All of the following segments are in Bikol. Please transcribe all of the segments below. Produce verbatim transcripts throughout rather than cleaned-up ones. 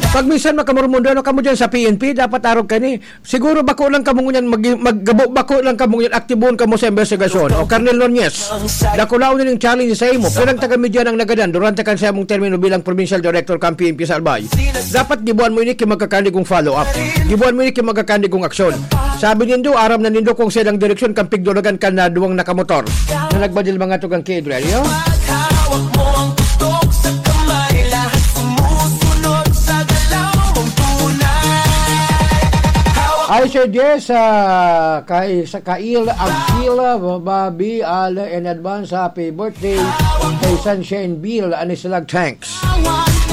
Pag minsan makamurmundo, ano kamo dyan sa P N P, dapat arog ka ni. Siguro bako lang kamo ngunyan, mag, mag, gabo-, bako lang kamo ngunyan, aktibon kamo sa investigasyon. O, Colonel Nunez, dakulaon na ning challenge sa imo. Pirang taga-media nang nagadan durante kan sa imong termino bilang provincial director kan P N P sa Albay. Dapat gibuan mo ini ki magkakandigong follow-up. Gibuan mo ini ki magkakandigong aksyon. Sabi nindo, aram na nindo kung saan ang direksyon kan pigdulagan kan na duwang nakamotor na nagbadil mga tugang ki Adrian. Iyo? Hawak mo ang putok sa kamay, lahat sumusunod sa galaw mong tunay. Hawak Ay, Sir Jess, ah, kay, sa Kail, Agil, Babi, Ala, in advance, happy birthday kay Sunshine Bill, Anislag Tanks.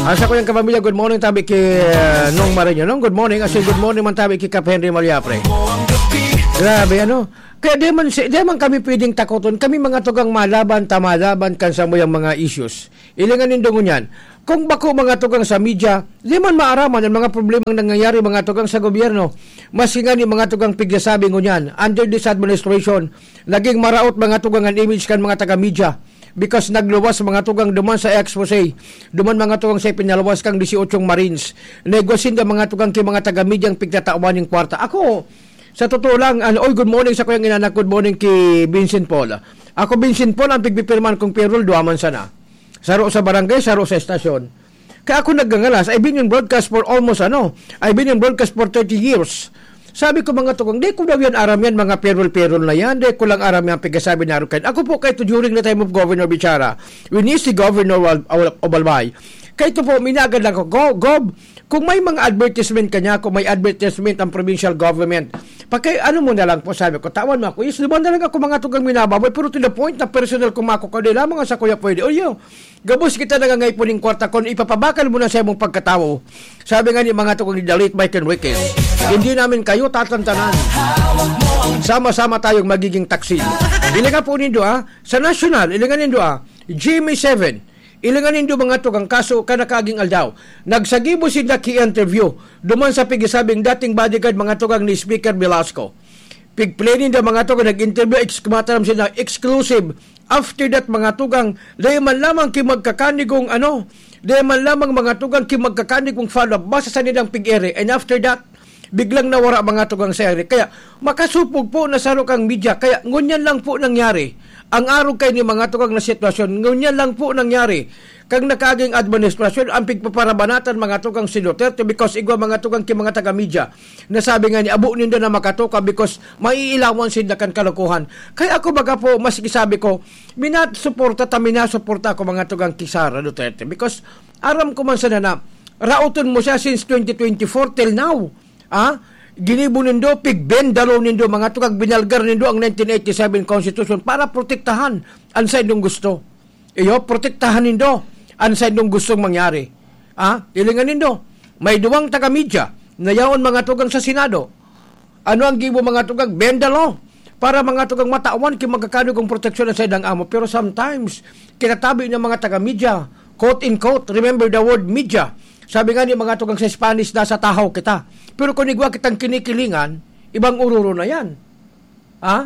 Asa ko yung kapamilya, good morning, tabi ki, ah, Nong Marinyo. Nong, good morning, as in, good morning man tabi ki Kap Henry Maliapre. Grabe, ano? Kaya di man, si-, di man kami pwedeng takoton. Kami mga tugang malaban, ta malaban kan sa muyang mga issues. Ilingan nindo ngunyan. Kung bako mga tugang sa media, di man maaraman ang mga problemang nangyayari mga tugang sa gobyerno. Mas nga ni mga tugang pigsasabi ngunyan, under this administration, naging maraot mga tugang ang image kan mga taga-media. Because nagluwas mga tugang duman sa expose, duman mga tugang sa ipinaluwas kang dieciocho Marines. Negosyo na mga tugang ki mga taga-media ang pigtatawan ng kwarta. Ako, sa totoo lang, ano, oy, good morning sa kuyang inanak, good morning ki Vincent Paul. Ako, Vincent Paul, ang pigpipirman kong payroll, duwa man sana. Saro sa barangay, saro sa estasyon. Kaya ako nagngangalas, I've been in broadcast for almost, ano, I've been in broadcast for thirty years. Sabi ko, mga tugang, di ko daw yan aram yan, mga payroll-payroll na yan, di ko lang aram yan, pagkasabi na aram kayo. Ako po, kahit during the time of Governor Bichara, when he's the governor of, of, of Albay, kahit po, minaagad lang ako, "Go, Gov, kung may mga advertisement ka niya, kung may advertisement ang provincial government, paki-, ano mo na lang po," sabi ko, "tawan mo ako." Yes, naman na lang ako, mga tugang, minababoy, pero to the point na personal kung mako ka, di lamang sa kuya pwede. O yun, gabos kita nangangay po ning kwarta, kung ipapabakal mo na sa imong pagkatawo. Sabi nga ni mga tugang ni The Late Mike Enriquez, "Hindi namin kayo tatantanan. Sama-sama tayong magiging taksil." Ilingan po nindo, ah, sa national, ilingan nindo, ah, G M A seven, ilingan nindo mga tugang kaso, kanakaging aldaw. Nagsagibo sinda ki interview duman sa pigisabing dating bodyguard mga tugang ni Speaker Velasco. Pigplay ninda mga tugang, nag-interview, ex-, kumataram sila, exclusive. After that, mga tugang, dahil man lamang ki magkakanigong ano, dahil man lamang mga tugang ki magkakanigong follow-up, basta sa nilang pig-ere. And after that, biglang nawara mga tugang sa ere. Kaya, makasupog po na saro kang media. Kaya, ngunyan lang po nangyari. Ang arog kay ni mga tugang na sitwasyon, ngunyan lang po nangyari. Kang nakaging administrasyon, ang pigpaparabanatan mga tugang si Duterte because igwa mga tugang ki mga taga-media. Nasabi nga ni abo ninda na makatoka because maiilawan sinda kan kalokohan. Kaya ako baga po, mas isabi ko, minasuporta ta, minasuporta ako mga tugang ki Sara Duterte because aram ko man sana na raoton mo siya since twenty twenty-four till now. Ah? Ginibo nindo, pigbendalo nindo, mga tugang binalgar nindo ang nineteen eighty-seven Constitution para protektahan ang sa inyong gusto. Iyo, protektahan nindo ang sa inyong gustong mangyari. Ah? Ilingan nindo, may duwang taga-media na yaon mga tugang sa Senado. Ano ang gibo mga tugang? Bendalo. Para mga tugang matawan ki magkakanigong proteksyon ang saindang amo. Pero sometimes, kinatabi ng mga taga-media, quote-unquote, remember the word media. Sabi nga ni mga tugang sa Spanish, nasa tahaw kita. Pero kung igwa kitang kinikilingan, ibang ururo na yan. Ha?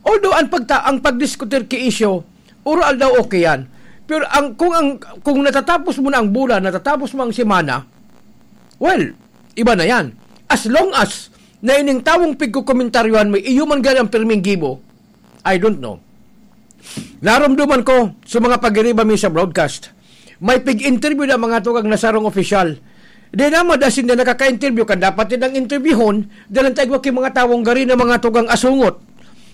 Although ang pagta-, ang pagdiskutir ki isyu, uro aldaw okay yan. Pero ang, kung ang, kung natatapos mo na ang bulan, natatapos mo ang semana, well, iba na yan. As long as na ining tawong pigkukomentaryohan mo, iyo man gani ang pirming gibo, I don't know. Narumduman ko sa mga pagiriba mi sa broadcast, may pig-interview na mga tugang na sarong opisyal. Di na madasin na nakaka-interview kan dapat din ang interviewhon, dahil ang tayo ki mga tawong gari na mga tugang asungot.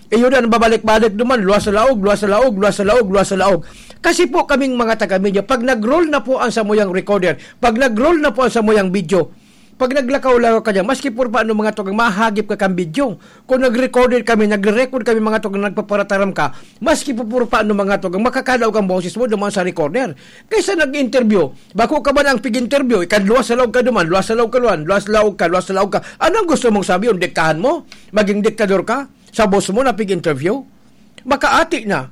Iyo na, babalik-balik naman, luwas sa laog, luwas sa laog, luwas sa laog, luwas sa laog. Kasi po kaming mga taga-media, pag nag-roll na po ang samuyang recorder, pag nag-roll na po ang samuyang video, pag naglakaw-lakaw ka dyan, maski puro pa ano mga tugang, mahagip ka kang video. Kung nag-recorder kami, nagre-record kami mga tugang, nagpaparataram ka, maski po puro pa ano mga tugang, makakalaog ang boses mo duman sa recorder. Kaysa nag-interview, bako ka ba na ang pig-interview, ikan luwas sa laog ka duman, luwas sa laog ka duman, luwas sa laog ka, luwas sa laog ka. Anong gusto mong sabihin? Diktahan mo? Maging diktador ka? Sa boss mo na pig-interview? Makaati na.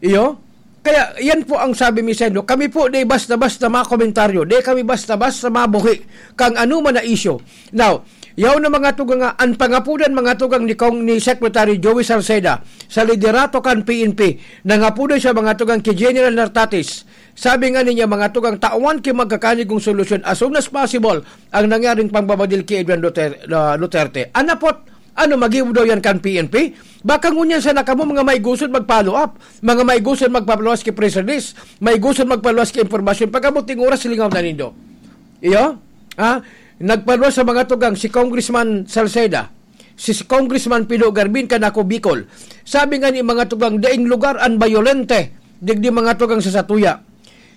Iyo? Kaya yan po ang sabi mi sa inyo. Kami po di basta-basta mga komentaryo. Di kami basta-basta mabuhi kang ano man na isyu. Now, yaw na mga tugang nga, ang pangapudan mga tugang ni Kong, ni Secretary Joey Salceda sa liderato kan P N P, nangapudan siya mga tugang ki General Nartatis, Sabi nga niya, mga tugang, tawan ki magkakanigong solusyon as soon as possible ang nangyaring pangbabadil ki Adrian Duter-, ah, Duterte. Anapot, ano, magibo daw yan kan P N P? Baka ngunyan sana kamo mga maigusod mag-follow up, mga maigusod magpaluwas ki press release, maigusod magpaluwas ki impormasyon. Pag-abot ning oras, lingaw na nindo. Iyo? Ha? Nagpaluwas sa mga tugang si Congressman Salceda, si, si Congressman Pido Garbin, kan Ako Bicol. Sabi nga ni mga tugang, daing lugar an bayolente, digdi mga tugang sa satuya.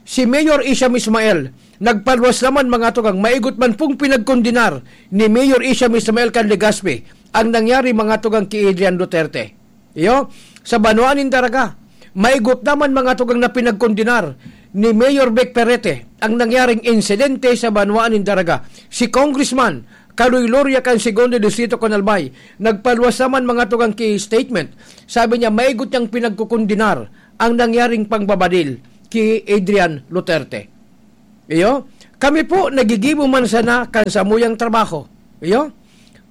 Si Mayor Isham Ismael, nagpaluwas naman mga tugang, maigot man pong pinagkondenar ni Mayor Isham Ismael kan Legazpi ang nangyari mga tugang ki Adrian Duterte. Iyo, sa Banwaan nin Daraga, maigot naman mga tugang na pinagkondenar ni Mayor Vic Perete ang nangyaring insidente sa Banwaan nin Daraga. Si Congressman Kaloy Loria kan Segundo Distrito kan Albay, nagpaluwas naman mga tugang ki statement. Sabi niya, maigot niyang pinagkukondenar ang nangyaring pangbabadil ki Adrian Duterte. Iyo, kami po nagigibo man sana kan samuyang trabaho. Iyo,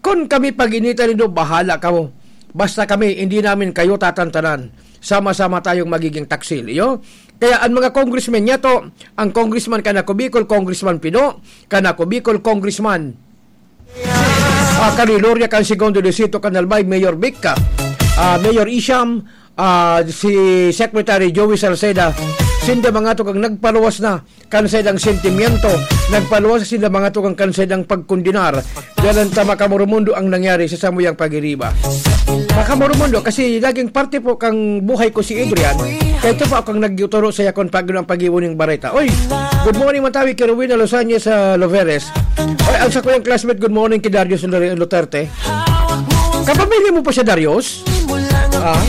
kun kami pag-initan nindo, bahala kamo. Basta kami, hindi namin kayo tatantanan. Sama-sama tayong magiging taksil. Iyo, kaya ang mga congressmen niya to, ang congressman kan Ako Bicol, Congressman Pido, kan Ako Bicol, Congressman ah, Kaloy Loria kan Segundo Distrito kan Albay, Mayor Vic, ah, Mayor Isham, ah, si Secretary Joey Salceda, sinda mga tugang nagpaluwas na kan saindang sentimiento, nagpaluwas na sinda mga tugang kan saindang pagkondenar. Dalan ta, mga kamoromundo, ang nangyari sa samuyang pagiriba. Mga kamoromundo, kasi naging parte po kan buhay ko si Adrian, kaya ito po akong nagtuturo sa yakon pag ang pag-iwo ning bareta. Oy, good morning, Mantawi, Kerwin Alosanya sa Loveres. Oy, ang sakuyang classmate, good morning kay Darius Lu-, Luterte. Kapamilya mo pa siya, Darius? Ah?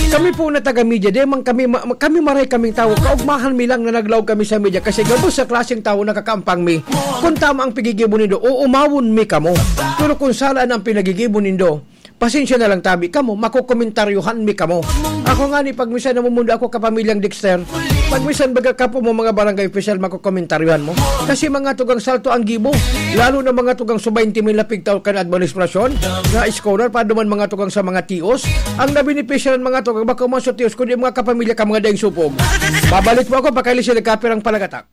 Kami po na taga-media, di man kami ma-, kami maray kaming tawo. Kaugmahan mi lang na naglaog kami sa media kasi gabos sa klaseng tawo nakakaampang mi. Kung tama ang pigigibo nindo, uumawon mi kamo. Pero kung sala na ang pinagigibo nindo, pasensya na lang tabi kamo, makokomentaryohan mi kamo. Ako nga ni, pag minsan namumundo ako kapamilyang Dexter, pag minsan baga ka po mo mga barangay official, makokomentaryohan mo. Kasi mga tugang salto ang gibo, lalo na mga tugang sa twenty mil na pigtaw kan administrasyon, na scholar, pa duman mga tugang sa mga tios, ang nabenepisyaran mga tugang, bako man sa tios, kundi mga kapamilya ka mga daing supog. Babalik po ako, pakaili sila kapirang palagatak.